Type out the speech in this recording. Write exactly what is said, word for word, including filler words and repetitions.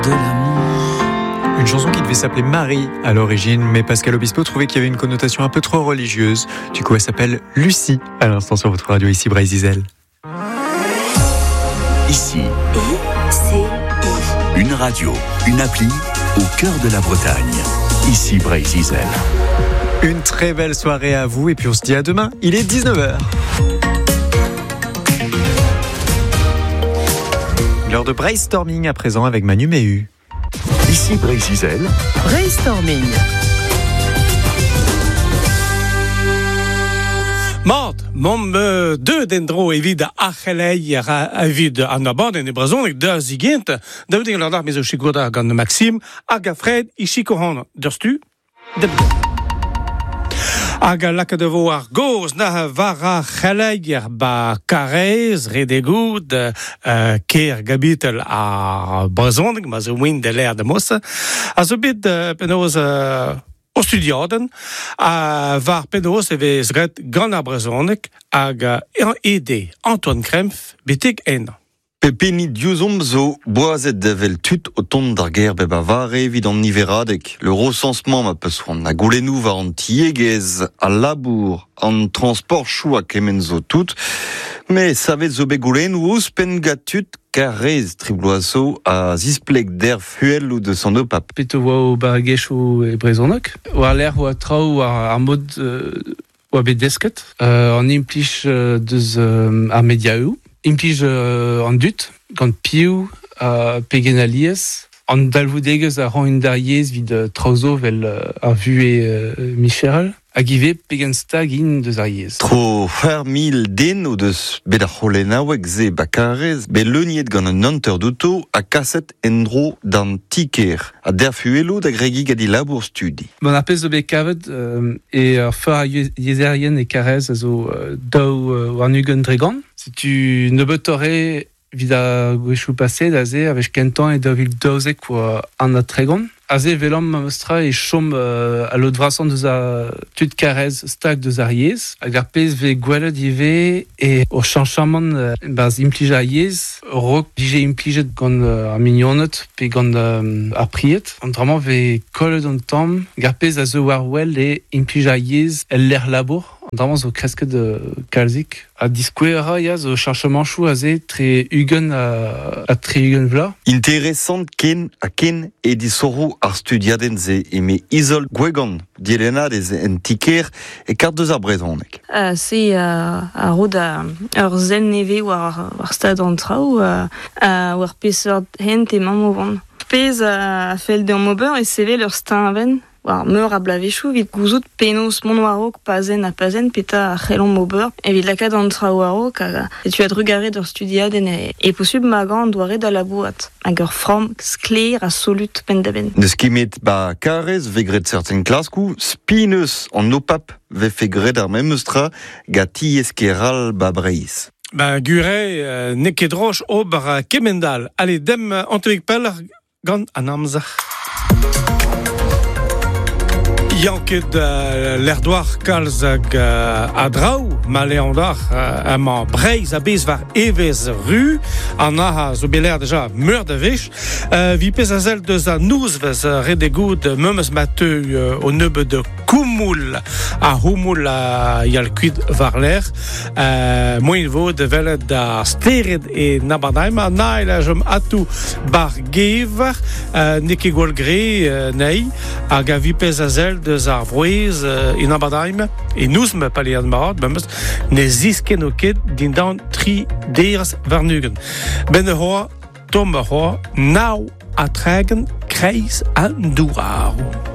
De l'amour. Une chanson qui devait s'appeler Marie à l'origine, mais Pascal Obispo trouvait qu'il y avait une connotation un peu trop religieuse. Du coup, elle s'appelle Lucie à l'instant sur votre radio ici Breizh Izel. Ici, I C I. Une radio, une appli au cœur de la Bretagne. Ici Breizh Izel. Une très belle soirée à vous et puis on se dit à demain. Il est dix-neuf heures. L'heure de brainstorming à présent avec Manu Méhu. Ici Breizh Izel. Brainstorming. Mat, mom euh, deux dendro evit ar c'heleier evit an abadenn e brezhoneg da zigent, da veut ur ar mezo sikour gant Maxime hag a Fred i sikour deus-tu de Hag a lakaet vo ar goz na war ar c'heleier ba Karez, Redegoud, euh, ker gabitel ar brezhoneg, ma zo win de l'air de mos, a zo bet euh, penaos euh, o studiaden, a war penaos e vez ret gant ar brezhoneg hag euh, ede Antoine Krempf betek ennañ. Pepeni diouzomp zo boazet devel tud o tont d'ar ger bep a vare evit an niveradeg. Le recensement ma peus c'hoant na goulennoù war an tiegezh, al labour, an transport chou a kement zo tout. Mais savet zo bet goulennoù ouzhpenn gant tud karrez tribloazo a zispleg der fuel ou de son opap. Pet oa o barregezhioù e brezhoneg. War l'air oa traoù war ar mod euh, oa bet desket. Euh, an implij euh, deus euh, ar mediaoù. Implij euh, an dut, gant piv, euh, pegen alies, an dalvoudegezh a ran un d'ar yezh vid euh, traoù zo vel euh, ar vuhez euh, micherel, hag ivez pegen stag int deus ar yezh. Tro c'hwec'h mil den o deus bet ar c'holennaoueg se bakarez, bet leuniet gant un hanter douto ha kaset en-dro d'an ti-kêr, ha derfuello da gregi gant e labour studi. Bon, ar pezh zo bet kavet euh, e ar feur ar yez-, yezherien e Karez a zo, euh, daou, euh, warn-ugent dregont. Setu nebeutoc'h evit ar gwechou paset aze, a wech kentañ e daou vil daouzek oa an ha tregont. Aze velomp memestra e chom, euh, a lod vrasañ deus a tud Karez stag deus ar yezh. Hag ar pezh vez gwelet ivez e o chañchamant, euh, barzh implij ar yezh, raok vije implijet gant, euh, ar mignoned pe gant, euh, ar pried. An dra-mañ vez kollet an tamm. Hag ar pezh a zo war wel e implij ar yezh el lec'h labour. An dra-mañ zo kresket, euh, kalzik. Ha diskouez a ra, ya, zo chañchamanchoù aze tre ugent ha, ha tre ugent vloaz. Interesant ken ha ken e disoc'hoù ar studiadenn se eme Izol Gwegan, dielennadez en ti-kêr e kart deus ar brezhoneg. Euh, se, euh, a ro da ur sell nevez war, war stad an traoù, euh, euh, war peseurt hent emañ o vont. Pezh a fell deomp ober e sevel ur steuñvenn war meur a blavezhioù evit gouzout penaos mont war-raok pazenn ha pazenn petra a c'hellomp ober evit lakaat an traoù war-raok hag setu a-drugarez d'ur studiadenn e, e posubl magañ an doare da labourat hag ur framm sklaer ha solut penn-da-benn. N'eus ket met ba Karez vez graet certain klaskoù, spinus an opap vefe graet ar memes tra gant tiez keral ba Breizh. Ben, gure, euh, n'eo ket droch ober, euh, kemendal. Allez, dem, euh, Antoine Peller gant an amzer. Yanket, euh, l'erdoar kalz hag, euh, a draoù, ma leandar, euh, amañ Breizh a bez war evez ru, an aha zo bet l'air deja meur da wech. Euh, vi pez a zel deus a nouzvez, euh, ret e goud, memes ma teu, euh, o nebeud de koumoul a houmoul a yal kuit war l'air. Euh, moin vo de velet da stered e nabadaim, a nail a jom atou bar gever, euh, n'eo ket gwall gre, euh, nei, hag a vi pez a zel deus ar vrouez, euh, e nabadaim, e nouzme palead marad, memes, ne zisken o ket dindan tri derz warnugen. Ben e hoa, tom e hoa, nao a tregen kreiz an douarou.